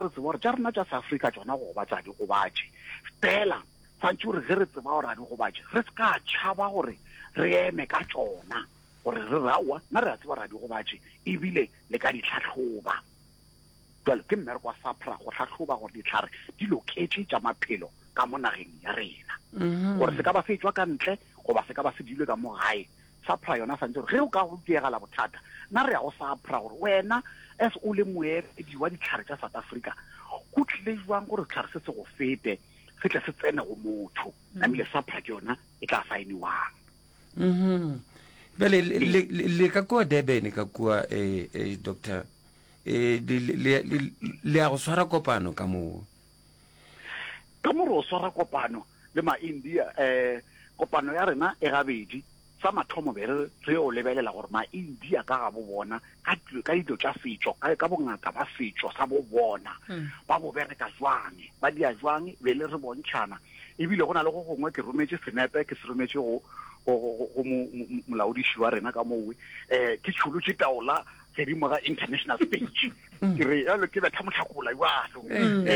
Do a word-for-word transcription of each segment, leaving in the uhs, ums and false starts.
re tseba gore tša rena tša South Africa tšona go gobatša di gobatše. Fela swantše gore ge re tseba gore a di gobatše, re se ka tšhaba gore re eme ka tšona, gore re re aowa, nna re a tseba gore a di gobatše, ebile le ka di hlahloba. Bjalo ke mmereko wa SAHPRA go hlahloba gore dihlare di loketše tša maphelo ka mo nageng ya rena, gore se ka ba se etšwa ka ntle goba se ka ba se diilwe ka mo gae. SAHPRA yona swantše gore ge o ka go diegela bothata, nna re ya go SAHPRA gore wena as o le moemedi wa dihlare tša South Africa, go tlile jwang gore sehlare se se go fete se tle se tsene go motho? Namile SAHPRA ke yona e tla saeniwang. Mhm. Bjale le- le le- le ka kua Durban ka kua, eh, eh, doctor, eh, le le- le- le ya go swara kopano ka moo? Ka mo re o swara kopano le ma-India. um kopano ya rena e gabedi. Sa mathomo be re re yo lebelela gore ma-India ka ga bo bona ka dilo ka dilo tša setšo, ka ka bongaka ba setšo sa bo bona, ba bo bereka jwang, ba dia jwang, be le re bontšhana. Ebile go na le go gongwe ke rometše senepe, ke se rometše go go go go mo- mo- molaodiši wa rena ka mowe, um ke tšholotše taola godimo ga international stage, ke re jalo ke betha motlhakola jalo. um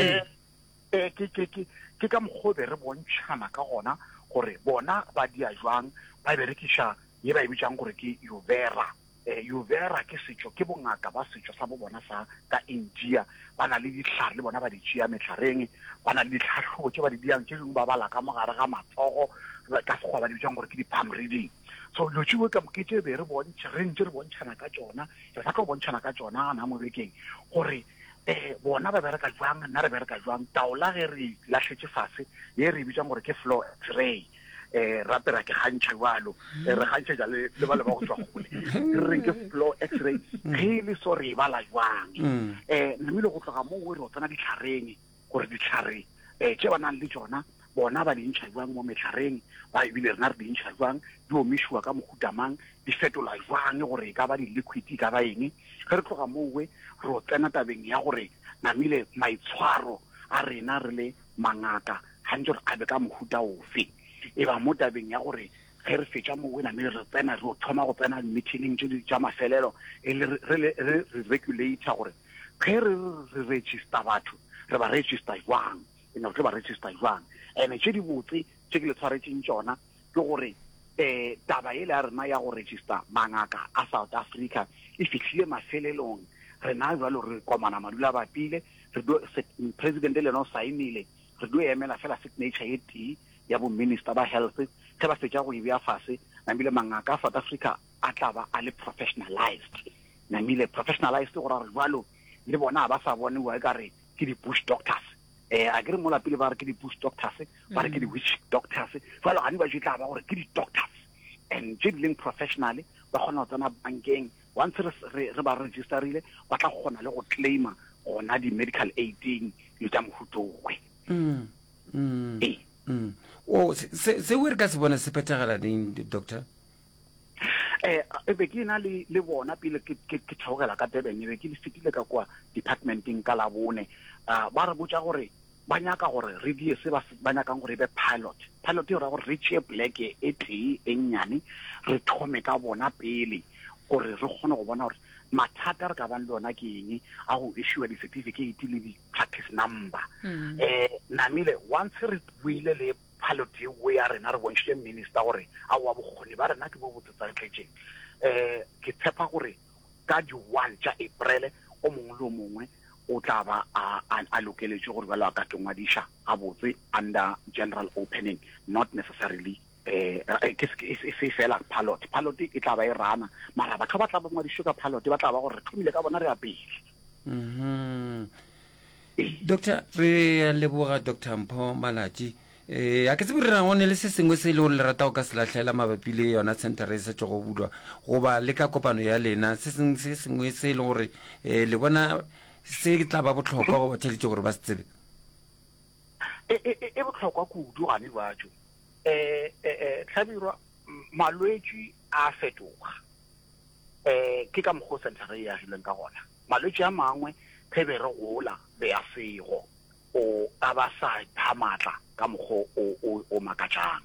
eh ke ke ke ke ka mokgwa o be re bontšhana ka gona gore bona ba dia jwang, ba berekiša ye ba e bitsang gore ke Ayurveda. eh Ayurveda ke setšo, ke bongaka ba setšo sa bo bona sa ka India. Ba na le dihlare le bona ba di tšea mehlareng, ba na le ditlhahlobo tše ba di diang, tše dingwe ba bala ka mogare ga matsogo, ka sekgowa ba di bitsang gore ke di-palm reading. So dilo tšeo ka ke tše be re bontšha, re ntše re bontšhana ka tšona, re sa tlo bontšhana ka tšona gana mo bekeng gore eh bona ba bereka jwang, nna re bereka jwang. Taola ge re lahletše fase ye re e bitsang gore ke floor X-ray, eh rape ra ke gantšha jalo, eh, re gantšhetša le le ba le ba go tswa gole, re reng ke floor X-ray, ge e le so re e bala jwang. eh namile go tloga moo re o tsena ditlhareng gore ditlhare eh tše ba nang le tšona bona ba di ntšha jwang mo mehlareng, ba ebile rena re di ntšha jwang, di omišiwa ka mohuta mang, di fetola jwang gore e ka ba di-liquid, e ka ba eng. Ge re tloga mowe re o tsena tabeng ya gore namile maitshwaro a rena re le mangaka gantse gore a be ka mohuta ofe. E ba mo tabeng ya gore ge re fetša mowe namile re tsena re o thoma go tsena meeting tše di tša mafelelo, e le re re re regulator gore ge re re register batho, re ba register jwang, ene re tlo ba register jwang. Ene tše di botse tše ke le tshwaretšeng tšona ke gore um taba ele ya rena ya go register mangaka a South Africa e fihlile mafelelong. Rena jalo re komana madula bapile, re do president le yena o saenile, re do emela fela signature ye tee ya bo minister ba health. Ge ba fetša go e bea fase, namile mangaka a South Africa a tla ba a le professionalized. Namile professionalized go ra gore jalo le bona ga ba sa boniwa e ka re ke di-bush doctors. eh a ke re mola pele ba re ke di-bush doctors, ba re ke di-witch doctors, jalo gane ba tla ba gore ke di-doctors and tše di leng professional, ba kgona go tsena bankeng. Once re re re ba registerile, ba tla kgona le go claima gona di-medical aiding dilo tša mohutowe. Mm, mm, ee. mm. O se se seo re ka se bona se phethagala neng, doctor? eh e be ke na le le bona pele ke ke ke theogela ka Durban, e be ke le fetile ka kwa departmenteng ka Labone. uh, ba re botša gore ba nyaka gore re die se ba ba nyakang gore e be pilot. Pilot e ra gore re tšee pleke e tee e nnyane, re thome ka bona pele gore re kgone go bona gore mathata re ka bang le ona ke eng a go issue di-certificate le di-practice number. eh namile once re buile le pilot yeo ya rena, re bontšhitše minister gore aowa, bokgoni ba rena ke bo bo tsetsaletletšeng, um ke tshepa gore ka di-one tša April o mongwe le o mongwe o tla ba a, a, a lokeletše gore bjalo a ka ke ngwadiša gabotse under general opening, not necessarily eh ke e se fela pilot. Pilot e tla ba e rana, mara batho ba tla ba ngwadišwe ka pilot ba tla ba gore re thomile ka bona, re ya pele. Mhm. Doctor, re a leboga, Doctor Mpho Malatji. eh a ke tsebe re go ne le se sengwe se e le gore le rata go ka se lahlela mabapi le yona center e sa tšego bulwa, goba le ka kopano ya lena, se sengwe se sengwe se e leng gore um le bona se tla ba bohlokwa go batheletše gore ba se tsebe? e e e bohlokwa kudu gane jwatso. eh eh tlhabirwa, malwetši a fetoga, eh ke ka mokgwa o center e agilweng ka gona. Malwetši a mangwe ge be re gola be a sego o a ba sa pha maatla ka mokgwa o o o makatšang.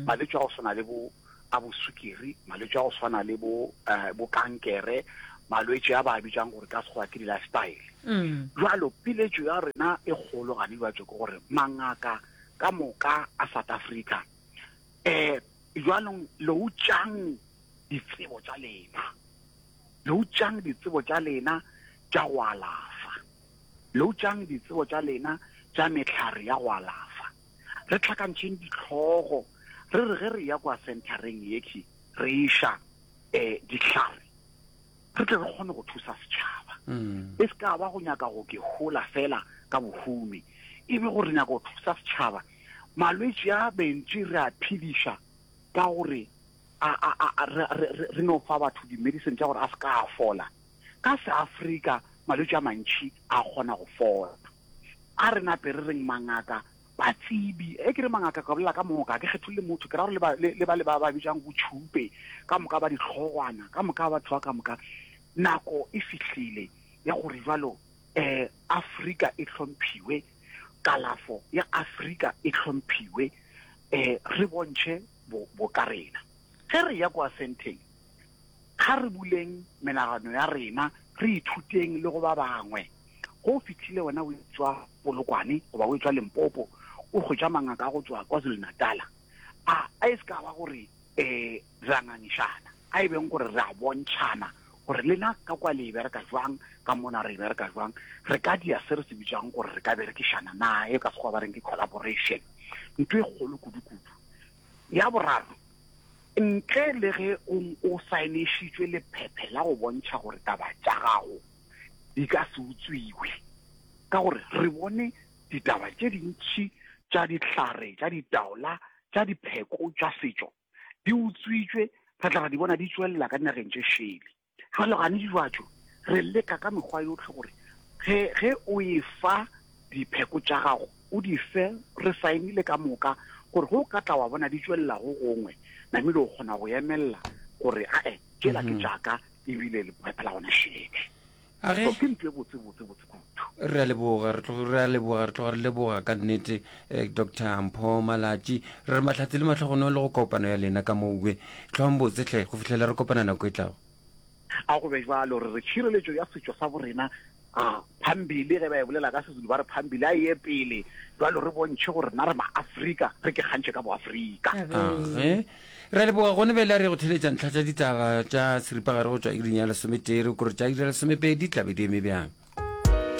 Malwetši a go swana le bo a bo sukiri, malwetši a go swana le bo eh, bo kankere, malwetši a ba a bitsang gore ka sekgowa ke di-lifestyle. Jwalo piletšo ya rena e kgolo gane bjatso ke gore mangaka ka moka a South Africa um jwanong loutšang ditsebo tša lena, loutšang ditsebo tša lena tša go alafa, loutšang ditsebo tša lena tša mehlare ya go alafa. Re tlhakantšheng ditlhogo, re re ge re ya kwa centereng yekhi re iša um dihlare, re tle re kgone go thusa setšhaba. E se ka ba go nyaka go ke hola fela ka bohumi, e be gore re nyaka go thusa setšhaba. Malwetši a bentši re a phediša ka gore a, a, a, a, re, re, re, re no fa batho di-medicine tša gore a se ka a fola. Ka Seafrika malwetši a mantši a kgona go fola. A re nape re reng mangaka batsebi, e ke re mangaka ka bolela ka moka, ke kgetholle motho, ke ra gore le ba, le, le ba le ba ba bitsang botšhupe ka moka, ba dihlogwana ka moka, batho ba ka moka. Nako e fihlile ya gore jwalo eh Afrika e hlomphiwe, kalafo ya Afrika e hlomphiwe, eh re bontšhe bo, bo ka rena. Ge re ya kwa senteng, ga re buleng menagano ya rena, re ithuteng le go ba bangwe. Go fihlile wena o etswa Polokwane goba o etswa Limpopo, o hwetša mangaka a go tswa KwaZulu-Natal, a a e se ka ba gore eh re a ngangišana, a e beng gore re a bontšhana gore lena ka kwa le e bereka jwang, ka mona re e bereka jwang. Re ka dia se re se bitsang gore re ka berekišana na, e ka sekgowa ba reng ke collaboration, ntho e kgolo kudu-kudu. Ya boraro, ntle le ge o, o saenešitšwe lephephe la go bontšha gore taba tša gago di ka se utswiwe, ka gore re bone ditaba tše dintši tša dihlare, tša ditaola, tša dipheko tša setšo di utswitšwe, re tla ra di bona di tšwelela ka dinageng tše šele. Jwale gane dijwatšo re leka ka mekgwa yotlhe gore ge, ge o e fa dipheko tša gago, o di fe, re saenile ka moka, gore go ka tla wa bona di tšwelela go gongwe, namile o kgona go emelela gore ae tšela ke tšaka, ebile lephephe la gona šele. A ge So ke ntho e botse botse botse kudu. Re a leboga, re tloga re a leboga, re tloga re leboga ka nnete eh, Doctor Mpho Malatji. Re re mahlatse le mahlogonolo le go kopano ya lena ka mowe. Tlhoang botse hle go fihlela re kopana nako e tlago. A go be jwalo, re re tšhireletšo ya setšo sa borena a phambili, ge ba e bolela ka Sezulu ba re phambili, a ye pele. Jwalo re bontšhe gore rena re maAfrika, re ke kgantšhe ka boAfrika. Age re a leboga. Gone bjale a re go theletša ntlha tša ditaba tša seripagare go tšwa iring ya lesometee, re kore tša iri ya lesomepedi tlabe di eme bjang.